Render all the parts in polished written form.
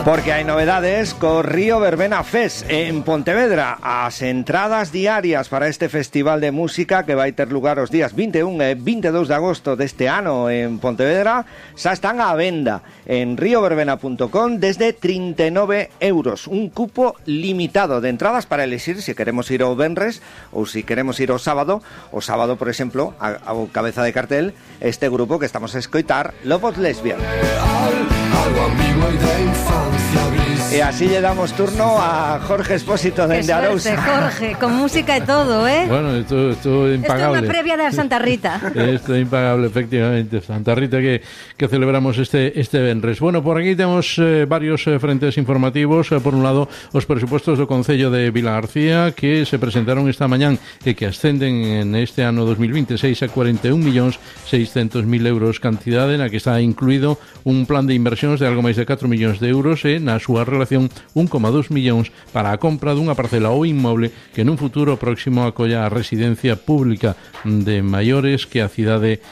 Porque hai novedades co Río Verbena Fest en Pontevedra. As entradas diarias para este festival de música que vai ter lugar os días 21 e 22 de agosto deste ano en Pontevedra xa están á venda en rioverbena.com desde 39 euros. Un cupo limitado de entradas para elegir se queremos ir ao venres ou se queremos ir ao sábado. O sábado, por exemplo, a cabeza de cartel este grupo que estamos a escoitar, Lobos Lesbian. Algo ambiguo e de infancia gris. E así le damos turno a Jorge Expósito dende Arousa. Jorge, con música e todo, ¿eh? Bueno, esto é impagable. Esto é unha previa da Santa Rita. Esto é impagable, efectivamente. Santa Rita que celebramos este venres. Bueno, por aquí temos varios frentes informativos. Por un lado, os presupostos do Concello de Vilagarcía que se presentaron esta mañán e que ascenden en este ano 2026 a 41.600.000 euros, cantidade na que está incluído un plan de inversións de algo máis de 4 millóns de euros e na súa relación 1,2 millóns para a compra dunha parcela ou inmoble que nun futuro próximo acolla a residencia pública de maiores que a cidade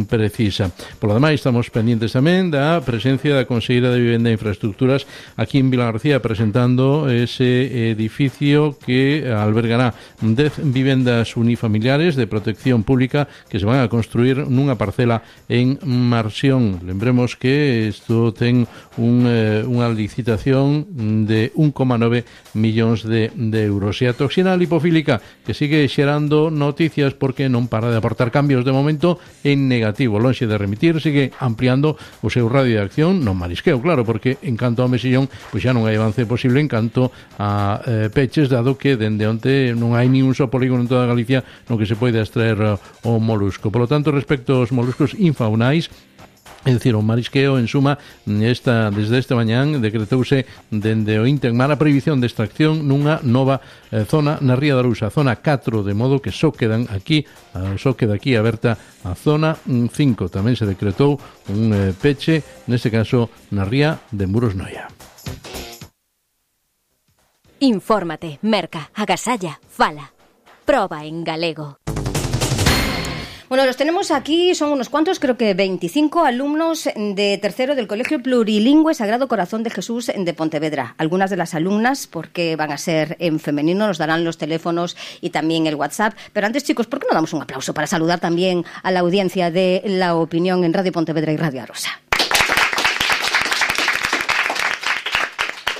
precisa. Por lo demais, estamos pendientes tamén da presencia da Conselleira de Vivenda e Infraestructuras aquí en Vilagarcía presentando ese edificio que albergará 10 vivendas unifamiliares de protección pública que se van a construir nunha parcela en Marsión. Lembremos que isto ten unha licitación de 1,9 millóns de euros. E a toxina lipofílica que sigue xerando noticias porque non para de aportar cambios de momento en negativo. Lonxe de remitir, sigue ampliando o seu radio de acción no marisqueo, claro, porque en canto ao mesillón pois xa non hai avance posible en canto a peches, dado que dende onte non hai ni un só polígono en toda Galicia no que se pode extraer o molusco. Por lo tanto, respecto aos moluscos infaunais, é dicir, o marisqueo, en suma, desde esta mañán decretouse dende o Intemar a prohibición de extracción nunha nova zona na Ría da Arousa, zona 4, de modo que só queda aquí aberta a zona 5. Tamén se decretou un peche, neste caso na Ría de Muros Noia. Infórmate, merca, agasalla, fala. Proba en galego. Bueno, los tenemos aquí, son unos cuantos, creo que 25 alumnos de tercero del Colegio Plurilingüe Sagrado Corazón de Jesús de Pontevedra. Algunas de las alumnas, porque van a ser en femenino, nos darán los teléfonos y también el WhatsApp. Pero antes, chicos, ¿por qué no damos un aplauso para saludar también a la audiencia de La Opinión en Radio Pontevedra y Radio Arosa?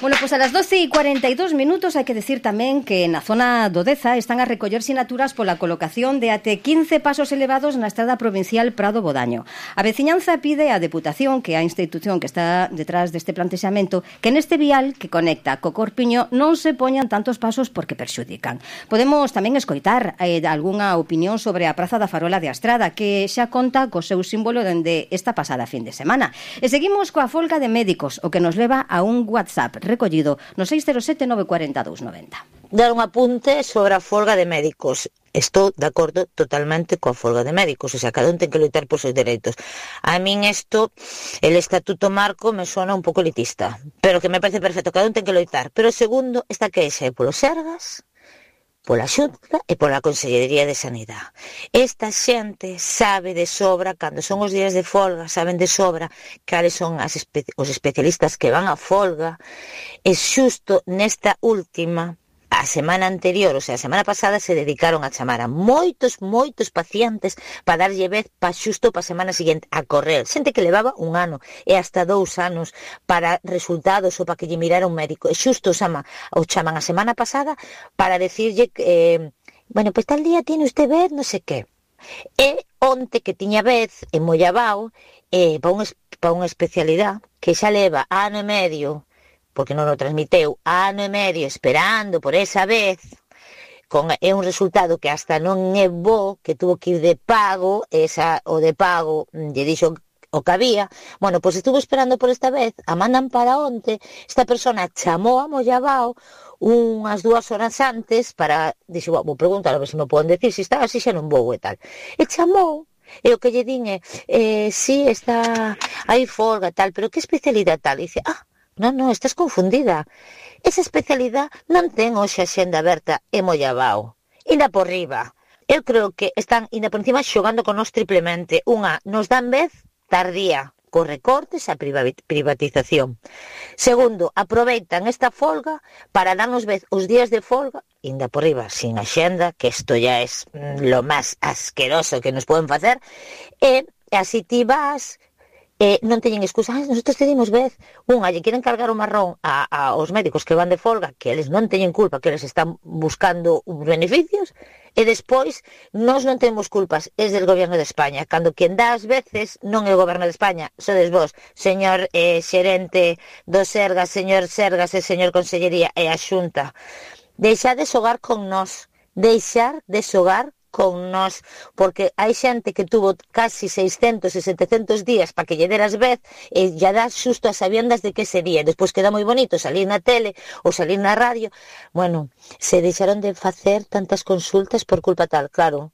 Bueno, pues a las 12:42 hai que decir tamén que na zona do Deza están a recoller sinaturas pola colocación de até 15 pasos elevados na estrada provincial Prado-Bodaño. A veciñanza pide á Deputación, que é a institución que está detrás deste plantexamento, que neste vial que conecta co Corpiño non se poñan tantos pasos porque perxudican. Podemos tamén escoitar algunha opinión sobre a Praza da Farola de Astrada, que xa conta co seu símbolo dende esta pasada fin de semana. E seguimos coa folga de médicos, o que nos leva a un WhatsApp recollido no 607 940 290. Dar un apunte sobre a folga de médicos. Estou de acordo totalmente coa folga de médicos, o sea, cada un ten que loitar por seus dereitos. A min isto, el estatuto marco, me sona un pouco elitista, pero que me parece perfecto, cada un ten que loitar. Pero segundo, esta queixa é polos Sergas, pola Xunta e pola Consellería de Sanidade. Esta xente sabe de sobra, cando son os días de folga, saben de sobra cales son os especialistas que van a folga, e xusto nesta última, a semana anterior, o sea, a semana pasada, se dedicaron a chamar a moitos pacientes para darlle vez xusto para a semana seguinte a correr. Xente que levaba 1 ano e hasta 2 anos para resultados ou para que lle mirara un médico. E xusto o chaman a semana pasada para decirlle que, bueno, pues tal día tiene usted vez, non sei que. E onte que tiña vez en Mollabao para unha especialidade que xa leva ano e medio, porque non o transmiteu, ano e medio esperando por esa vez, é un resultado que hasta non é bo, que tuvo que ir de pago, o de pago lle dixo o que había. Bueno, pois estuvo esperando por esta vez, a mandan para onte, esta persona chamou a Mollabao unhas 2 horas antes para, dixo, vou preguntar a ver se me poden decir se está así, xa non vou e tal. E chamou, e o que lle din sí, está aí folga tal, pero que especialidade tal? E dice, non, estás confundida. Esa especialidade non ten hoxe a xenda aberta en Mollabao. Inda por riba. Eu creo que están inda por encima xogando con nós triplemente. Unha, nos dan vez tardía, cos recortes a privatización. Segundo, aproveitan esta folga para darnos os días de folga, ainda por riba, sin axenda, que isto ya es lo máis asqueroso que nos poden facer, e así ti vas... non teñen excusa, nosotros te dimos vez, lle queren cargar o marrón aos médicos que van de folga, que eles non teñen culpa, que eles están buscando os beneficios, e despois nós non temos culpas, é del goberno de España, cando quien dá as veces non é o goberno de España, sodes vos, señor xerente do Sergas, señor Sergas e señor Consellería e a Xunta. Deixar de xogar con nós, con nós, porque hai xente que tuvo casi 600 e 700 días para que lle deras vez e lle das xusto as sabiendas de que sería, despois queda moi bonito salir na tele ou salir na radio. Bueno, se deixaron de facer tantas consultas por culpa tal, claro,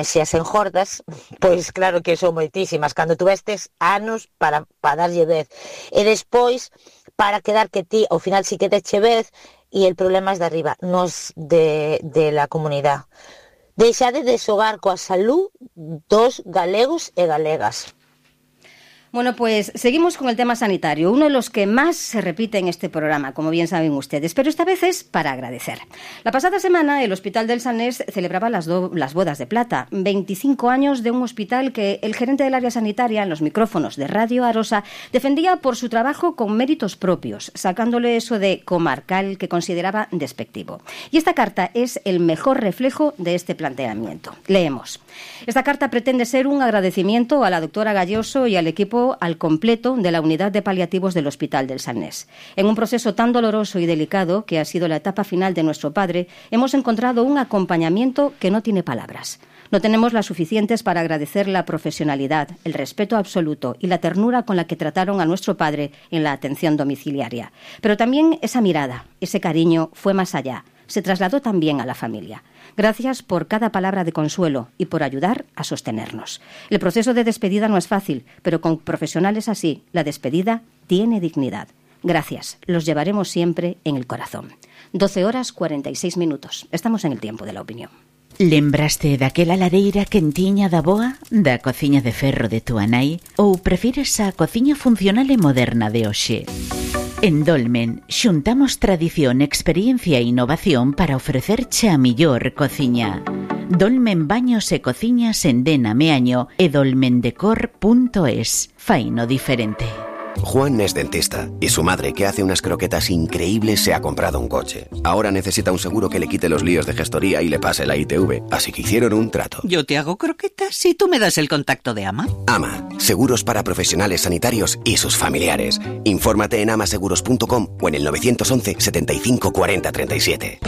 se as enjordas, pois claro que son moitísimas, cando tuvestes anos para darlle vez, e despois para quedar que ti ao final si que deche vez, e el problema é de arriba, nos de la comunidade. Deixade de xogar coa salud dos galegos e galegas. Bueno, pues seguimos con el tema sanitario, uno de los que más se repite en este programa, como bien saben ustedes, pero esta vez es para agradecer. La pasada semana el Hospital del Sanés celebraba las bodas de plata, 25 años de un hospital que el gerente del área sanitaria en los micrófonos de Radio Arosa defendía por su trabajo con méritos propios, sacándole eso de comarcal que consideraba despectivo. Y esta carta es el mejor reflejo de este planteamiento. Leemos. Esta carta pretende ser un agradecimiento a la doctora Galloso y al equipo al completo de la unidad de paliativos del Hospital del Sanés. En un proceso tan doloroso y delicado que ha sido la etapa final de nuestro padre, hemos encontrado un acompañamiento que no tiene palabras. No tenemos las suficientes para agradecer la profesionalidad, el respeto absoluto y la ternura con la que trataron a nuestro padre en la atención domiciliaria. Pero también esa mirada, ese cariño fue más allá. Se trasladó también a la familia. Gracias por cada palabra de consuelo y por ayudar a sostenernos. El proceso de despedida no es fácil, pero con profesionales así, la despedida tiene dignidad. Gracias, los llevaremos siempre en el corazón. 12:46. Estamos en el tiempo de la opinión. Lembraste daquela lareira quentiña da boa, da cociña de ferro de túa nai, ou prefires a cociña funcional e moderna de hoxe? En Dolmen xuntamos tradición, experiencia e innovación para ofrecerche a millor cociña. Dolmen Baños e Cociñas en Dena Meaño e dolmendecor.es. Faino diferente. Juan es dentista y su madre, que hace unas croquetas increíbles, se ha comprado un coche. Ahora necesita un seguro que le quite los líos de gestoría y le pase la ITV, así que hicieron un trato. Yo te hago croquetas si tú me das el contacto de AMA. AMA, seguros para profesionales sanitarios y sus familiares. Infórmate en amaseguros.com o en el 911 75 40 37.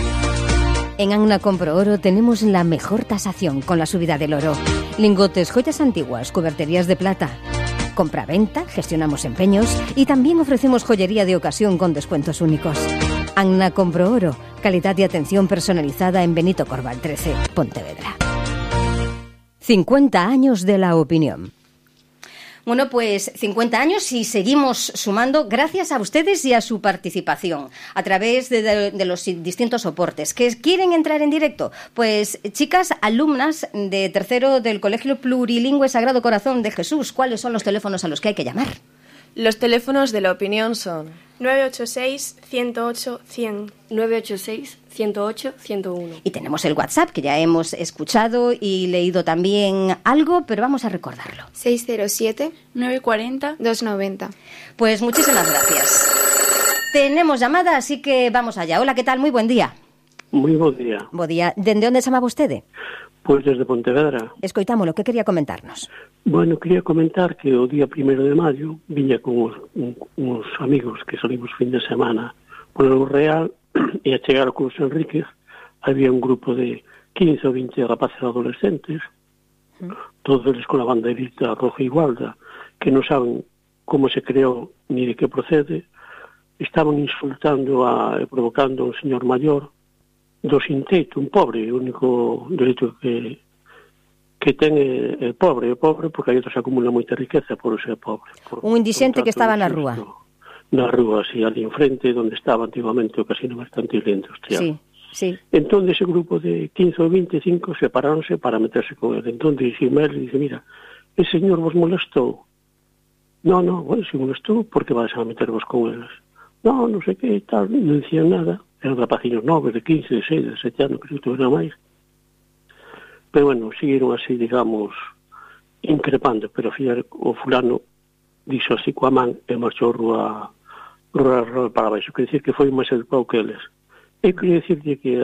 En Anna Compro Oro tenemos la mejor tasación con la subida del oro. Lingotes, joyas antiguas, cuberterías de plata. Compra-venta, gestionamos empeños y también ofrecemos joyería de ocasión con descuentos únicos. Anna Compro Oro, calidad y atención personalizada en Benito Corval 13, Pontevedra. 50 años de la opinión. Bueno, pues 50 años y seguimos sumando gracias a ustedes y a su participación a través de los distintos soportes. ¿Que quieren entrar en directo? Pues chicas, alumnas de tercero del Colegio Plurilingüe Sagrado Corazón de Jesús, ¿cuáles son los teléfonos a los que hay que llamar? Los teléfonos de la opinión son 986-108-100. 986-108-101. Y tenemos el WhatsApp, que ya hemos escuchado y leído también algo, pero vamos a recordarlo. 607-940-290. Pues muchísimas gracias. Tenemos llamada, así que vamos allá. Hola, ¿qué tal? Muy buen día. Moi bo día. Bo día. ¿Dende onde chamaba vostede? Pois desde Pontevedra. Escoitámolo, que quería comentarnos? Bueno, quería comentar que o día 1 de maio viña con uns amigos que salimos fin de semana polo Real e a chegar ao Curso Enríquez había un grupo de 15 ou 20 rapaces adolescentes, todos eles con a banderita roja e gualda, que non saben como se creou ni de que procede, estaban insultando e provocando a un señor maior do sin teito, un pobre, o único dereito que ten é pobre porque aí se acumula moita riqueza por ser pobre. Un indixente que estaba na rúa. Na rúa, sí, ali enfrente, onde estaba antiguamente o casino mercantil industrial. Sí, sí. Entón, ese grupo de 15 ou 25 separáronse para meterse con ele. Entón, dixime ele, dice, mira, ese señor vos molestou? No, bueno, se molestou, por que vais a metervos con eles? non sei que, tal, non dicían nada. Eran rapaciños novos, de 15, de 6, de 7 anos, que non era máis. Pero, bueno, seguiron así, digamos, increpando, pero ao final o fulano dixo así coa man e marchou rúa para baixo. Quer dicir que foi máis educado que eles. Eu queria dicirte que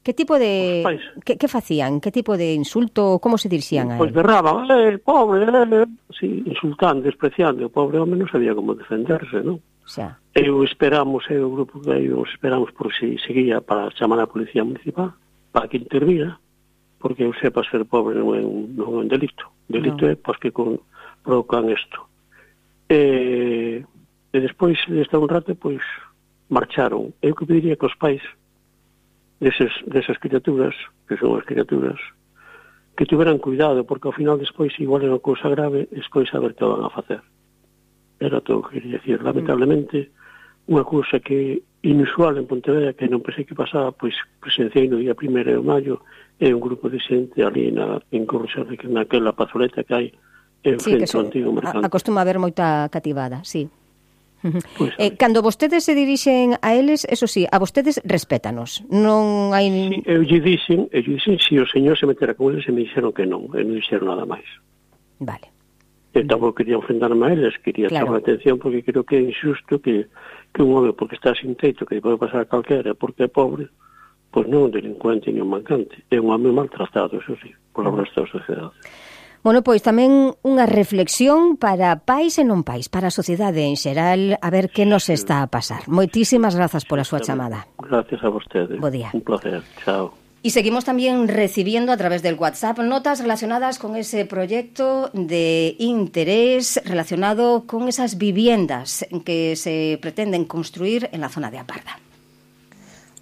Que tipo de... Que facían? Que tipo de insulto? Como se dirixían a él? Pois berraban, pobre, sí, insultando, despreciando. O pobre home non sabía como defenderse, non? Xa. O grupo que eu esperamos por si seguía para chamar a Policía Municipal para que intervira, porque eu sepa ser pobre non é un delito. Delito é pois que provocan isto. E despois deste un rato, pois, marcharon. Eu que pediría que os pais desas criaturas, que son as criaturas, que tuveran cuidado, porque ao final despois, igual é unha cousa grave, despois saber que van a facer. Era todo o que quería decir. Lamentablemente, unha cousa que inusual en Pontevedra, que non pensei que pasaba, pois presenciei no día 1 de maio, é un grupo de xente ali en Corroxarre, que naquela pazoleta que hai en frente ao antigo mercado. Acostuma haber moita cativada, sí. Pues, cando vostedes se dirixen a eles, eso sí, a vostedes respétanos. Non hai... Sí, eu lle dixen, se o señor se metera con eles, e me dixeron que non dixeron nada máis. Vale. Eu tampouco quería enfrentarme a eles, quería chamar a atención, porque creo que é injusto que un home, porque está sin teito, que pode pasar a calquera, porque é pobre, pois non é un delincuente ni un mancante, é un home maltratado, eso sí, por o resto da sociedade. Bueno, pois tamén unha reflexión para pais e non pais, para a sociedade en xeral, a ver que nos está a pasar. Moitísimas grazas pola súa chamada. Gracias a vostede. Bo día. Un placer. Chao. Y seguimos también recibiendo a través del WhatsApp notas relacionadas con ese proyecto de interés relacionado con esas viviendas que se pretenden construir en la zona de Aparda.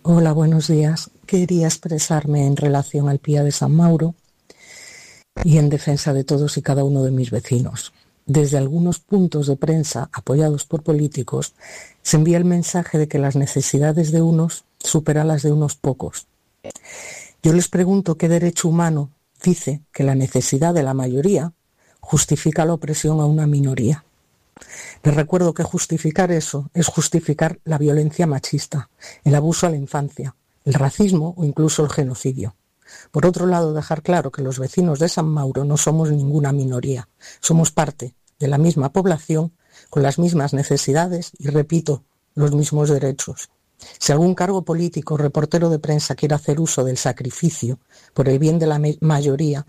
Hola, buenos días. Quería expresarme en relación al Pía de San Mauro y en defensa de todos y cada uno de mis vecinos. Desde algunos puntos de prensa apoyados por políticos se envía el mensaje de que las necesidades de unos superan las de unos pocos. Yo les pregunto qué derecho humano dice que la necesidad de la mayoría justifica la opresión a una minoría. Les recuerdo que justificar eso es justificar la violencia machista, el abuso a la infancia, el racismo o incluso el genocidio. Por otro lado, dejar claro que los vecinos de San Mauro no somos ninguna minoría, somos parte de la misma población con las mismas necesidades y, repito, los mismos derechos. Si algún cargo político o reportero de prensa quiere hacer uso del sacrificio por el bien de la mayoría,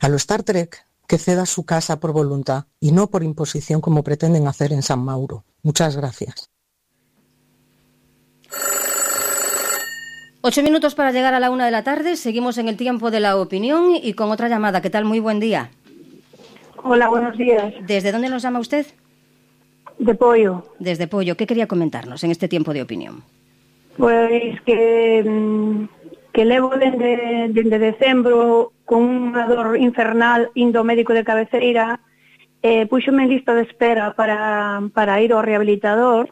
a lo Star Trek, que ceda su casa por voluntad y no por imposición como pretenden hacer en San Mauro. Muchas gracias. 8 minutos para llegar a la 1 de la tarde. Seguimos en el tiempo de la opinión y con otra llamada. ¿Qué tal? Muy buen día. Hola, buenos días. ¿Desde dónde nos llama usted? De Pollo. Desde Pollo. ¿Qué quería comentarnos en este tiempo de opinión? Pois que levo dende decembro con unha dor infernal indo ao médico de cabeceira, puxome en lista de espera para ir ao rehabilitador.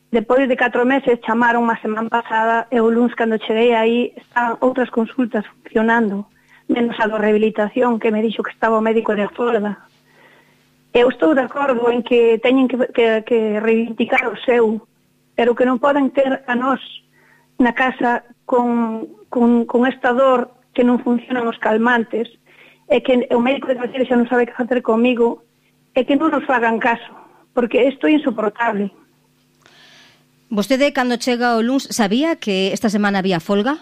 Depois de 4 meses chamaron a semana pasada e o luns cando cheguei aí están outras consultas funcionando, menos a do rehabilitación que me dixo que estaba o médico de folga. Eu estou de acordo en que teñen que reivindicar o seu, pero que non poden ter a nós na casa con esta dor que non funcionan os calmantes e que o médico de cabeceira xa non sabe que facer comigo e que non nos fagan caso, porque isto é insoportable. Vostede, cando chega o luns, sabía que esta semana había folga?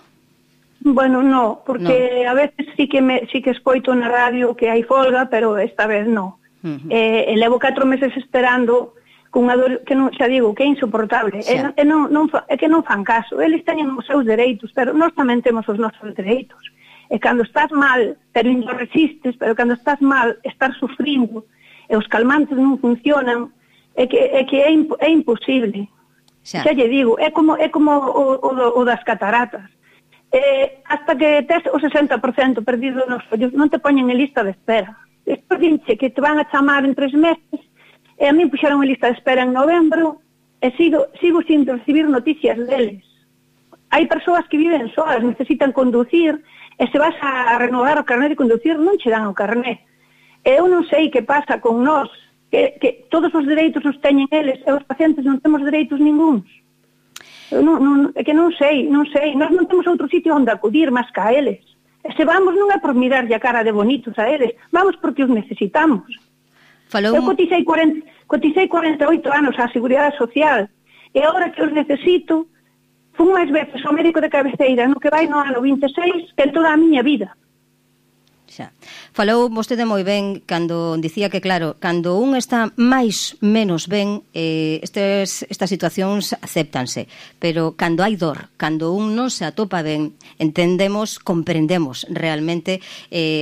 Bueno, no, porque a veces sí que escoito na radio que hai folga, pero esta vez no. Levo 4 meses esperando con unha dor que non, xa digo, que é insoportable. É que non fan caso. Eles teñen os seus dereitos, pero nós tamén temos os nosos dereitos. E cando estás mal, pero non resistes, pero cando estás mal, estás sufrindo, e os calmantes non funcionan, é que é imposible. Xa lle digo, é como o das cataratas. Hasta que tes o 60% perdido nos ollos, non te poñen en lista de espera. Despois dinche que te van a chamar en 3 meses, e a mí puxeron en lista de espera en novembro, e sigo sin recibir noticias deles. Hai persoas que viven solas, necesitan conducir, e se vas a renovar o carnet de conducir, non che dan o carnet. E eu non sei que pasa con nós, que todos os dereitos os teñen eles, e os pacientes non temos dereitos ningúns. É que non sei. Nós non temos outro sitio onde acudir máis que a eles. E se vamos non é por mirarlle a cara de bonitos a eles, vamos porque os necesitamos. Eu coticei 48 anos á Seguridade Social e agora que os necesito, fun máis veces ao médico de cabeceira no que vai no ano 26 que en toda a miña vida. Xa. Falou vostede moi ben cando dicía que, claro, cando un está máis menos ben, estas situacións acéptanse, pero cando hai dor, cando un non se atopa ben, entendemos, comprendemos realmente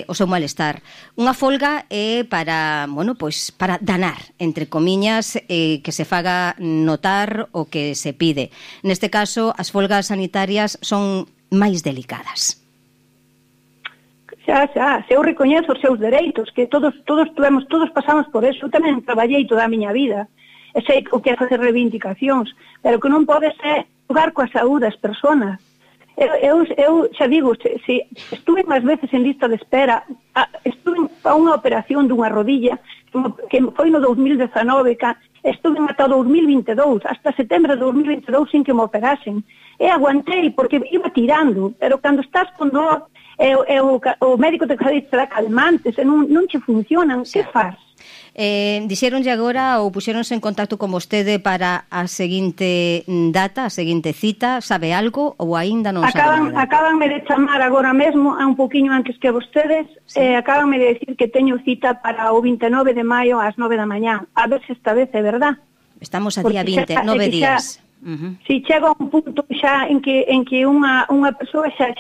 o seu malestar. Unha folga é para, bueno, pois para danar, entre comiñas, que se faga notar o que se pide. Neste caso, as folgas sanitarias son máis delicadas. Xa, se eu recoñezo os seus dereitos, que todos pasamos por eso. Eu tamén traballei toda a miña vida, e sei o que é facer reivindicacións, pero que non pode ser xogar coa saúde das persoas. Eu xa digo, estuve máis veces en lista de espera, estuve a unha operación dunha rodilla, que foi no 2019, estuve ata 2022, hasta setembro de 2022 sin que me operasen. E aguantei, porque iba tirando, pero cando estás con dor, o médico te dá calmantes e non che funcionan, que faz? Dixéronlle agora ou puxéronse en contacto con vostede para a seguinte data, a seguinte cita, sabe algo ou aínda non sabe nada? Acabanme de chamar agora mesmo, un poquinho antes que vostedes, acabanme de decir que teño cita para o 29 de maio ás 9 da mañá, a ver se esta vez é verdad. Estamos a día 20, 9 días. Si chega un punto xa en que unha persoa xa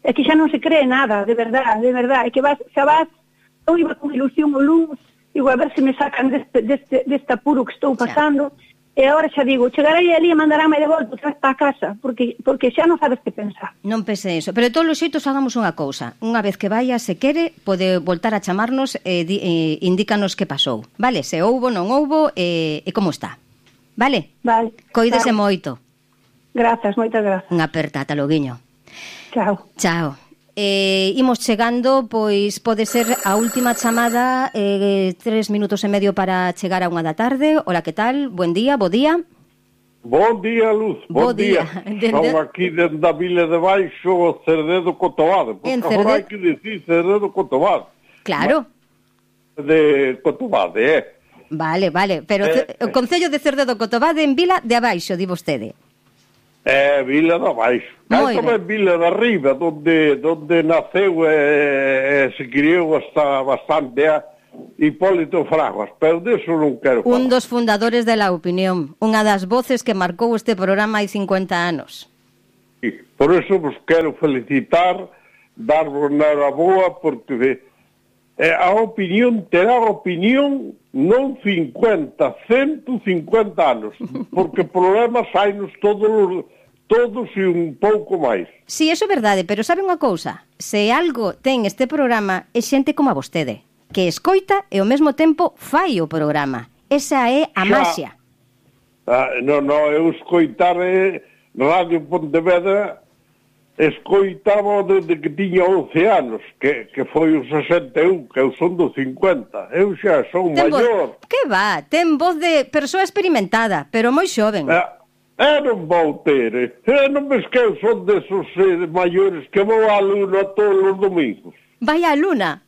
é que xa non se cree nada, de verdad, é que eu iba con ilusión o luns, digo, a ver se me sacan deste apuro que estou pasando, e agora xa digo, chegarei ali e mandarame de volta outra vez para a casa, porque xa non sabes que pensar. Non pense eso, pero de todos os xeitos hagamos unha cousa, unha vez que vaya, se quere, pode voltar a chamarnos e indícanos que pasou, vale? Se houbo, non houbo, e como está, vale? Vale. Coídese moito. Grazas, moitas grazas. Unha aperta, ata loguiño. Chao. Imos chegando, pois pode ser a última chamada, 3 minutos e medio para chegar a 1 da tarde. Hola, que tal? Buen día, bo día. Bon día, Luz, bon día. Son aquí dentro da Vila de Baixo, Cerdedo Cotobade. Porque agora hai que dicir Cerdedo Cotobade. Claro. De Cotobade, Vale, pero o Concello de Cerdedo Cotobade en Vila de Abaixo, di vostede. Vila de Abaixo. Hai tamén Vila de Arriba, donde naceu e se criou hasta bastante Hipólito Fraguas, pero deso non quero falar. Un dos fundadores de La Opinión, unha das voces que marcou este programa hai 50 anos. Sí, por eso vos quero felicitar, darvos enhoraboa, porque a opinión terá opinión non 50, 150 anos, porque problemas hainos todos e un pouco máis. Si, eso é verdade, pero sabe unha cousa? Se algo ten este programa é xente como a vostede, que escoita e ao mesmo tempo fai o programa. Esa é a maxia. Non, eu escoitar Radio Pontevedra, escoitaba desde que tiña 11 anos, que foi o 61, que eu son do 50. Eu xa son maior. Que va, ten voz de persoa experimentada, pero moi xoven. Non vou ter. Non ves que eu son desos maiores que vou á luna todos os domingos. Vai á luna?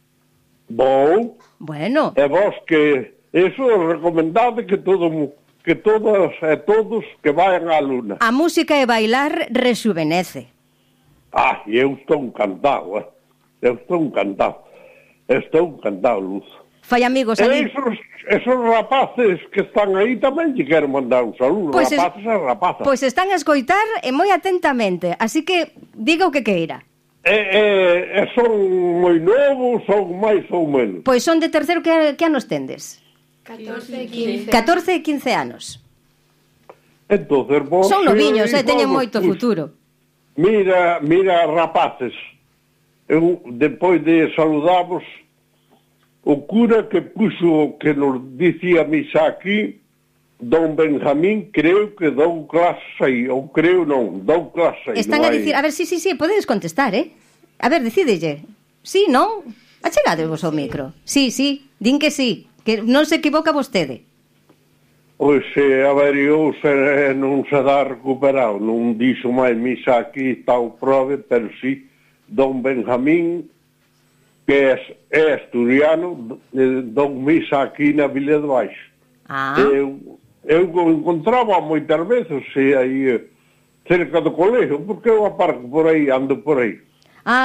Vou. Bueno. E vos que eso é recomendado que todas e todos que vayan á luna. A música e bailar rejuvenece. Eu estou encantado, Estou encantado, Luz. Fai amigos ali. Esos rapaces que están aí tamén lle quero mandar un saludo, pues rapaces e rapazas. Pois están a escoitar e moi atentamente, así que diga o que queira. Son moi novos, son máis ou menos. Pois son de terceiro, que anos tendes? 14 e 15. 14 e 15 anos. Entonces, vos... Son noviños, teñen moito futuro. Mira, rapaces, eu, depois de saludamos, o cura que puxo, que nos dicía misa aquí, don Benjamín, creo que dou clase aí, ou creo non, dou clase aí. Están a dicir, a ver, sí, podedes contestar, A ver, decídelle. Sí, non? Achegadevos ao micro. Sí, din que sí, que non se equivoca vostede. Pois averiouse e non se dá recuperado. Non dixo máis misa aquí tal prove, pero sí, don Benjamín, que é asturiano, don misa aquí na Vila de Baixo. Eu encontraba moitas veces aí cerca do colégio, porque eu aparco por aí, ando por aí.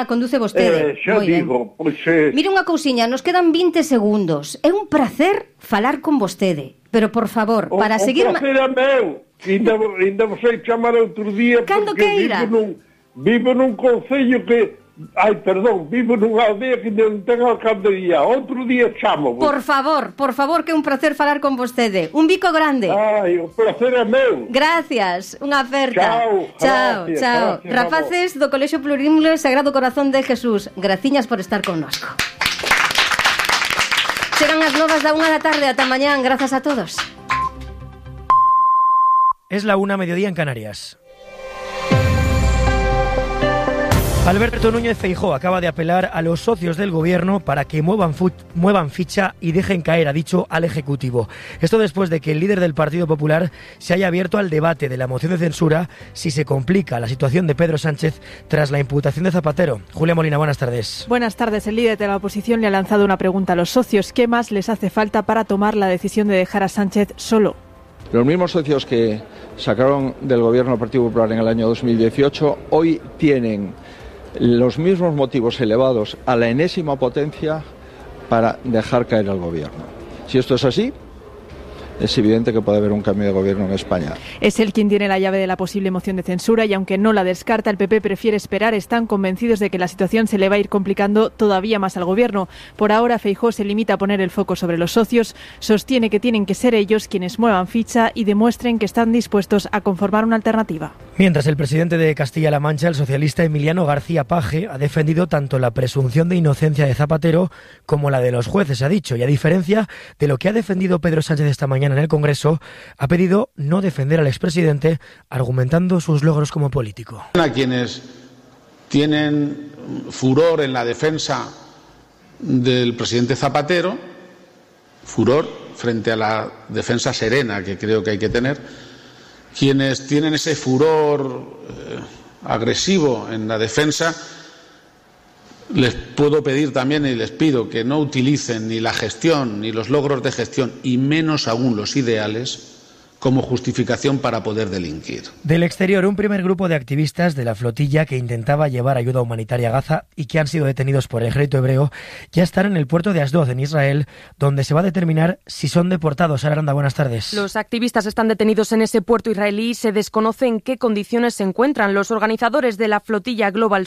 Conduce vostede. Xa digo, pois... Mire unha cousiña, nos quedan 20 segundos. É un placer falar con vostede, pero por favor, para seguir... O placer é meu, ainda vos sei chamar outro día, cando porque vivo nun concello que... vivo nunha aldea que non ten alcandería. Outro día chamo. Por favor, que é un placer falar con vostede. Un bico grande. O placer é meu. Gracias, unha aperta. Chao. Rapaces do Colexio Plurilingüe Sagrado Corazón de Jesús, graciñas por estar connosco. Serán as 9:01 da tarde, ata mañán. Grazas a todos. Es la 1:00 en Canarias. Alberto Núñez Feijóo acaba de apelar a los socios del gobierno para que muevan ficha y dejen caer, ha dicho, al Ejecutivo. Esto después de que el líder del Partido Popular se haya abierto al debate de la moción de censura si se complica la situación de Pedro Sánchez tras la imputación de Zapatero. Julia Molina, buenas tardes. Buenas tardes. El líder de la oposición le ha lanzado una pregunta a los socios. ¿Qué más les hace falta para tomar la decisión de dejar a Sánchez solo? Los mismos socios que sacaron del gobierno del Partido Popular en el año 2018 hoy tienen los mismos motivos elevados a la enésima potencia para dejar caer al gobierno. Si esto es así, es evidente que puede haber un cambio de gobierno en España. Es él quien tiene la llave de la posible moción de censura y aunque no la descarta, el PP prefiere esperar. Están convencidos de que la situación se le va a ir complicando todavía más al gobierno. Por ahora, Feijóo se limita a poner el foco sobre los socios. Sostiene que tienen que ser ellos quienes muevan ficha y demuestren que están dispuestos a conformar una alternativa. Mientras el presidente de Castilla-La Mancha, el socialista Emiliano García Paje, ha defendido tanto la presunción de inocencia de Zapatero como la de los jueces, ha dicho, y a diferencia de lo que ha defendido Pedro Sánchez esta mañana en el Congreso, ha pedido no defender al expresidente, argumentando sus logros como político. A quienes tienen furor en la defensa del presidente Zapatero, furor frente a la defensa serena que creo que hay que tener, quienes tienen ese furor agresivo en la defensa, les puedo pedir también y les pido que no utilicen ni la gestión ni los logros de gestión y menos aún los ideales como justificación para poder delinquir. Del exterior, un primer grupo de activistas de la flotilla que intentaba llevar ayuda humanitaria a Gaza y que han sido detenidos por el ejército hebreo ya están en el puerto de Asdod, en Israel, donde se va a determinar si son deportados. Sara Aranda, buenas tardes. Los activistas están detenidos en ese puerto israelí y se desconoce en qué condiciones se encuentran. Los organizadores de la flotilla Global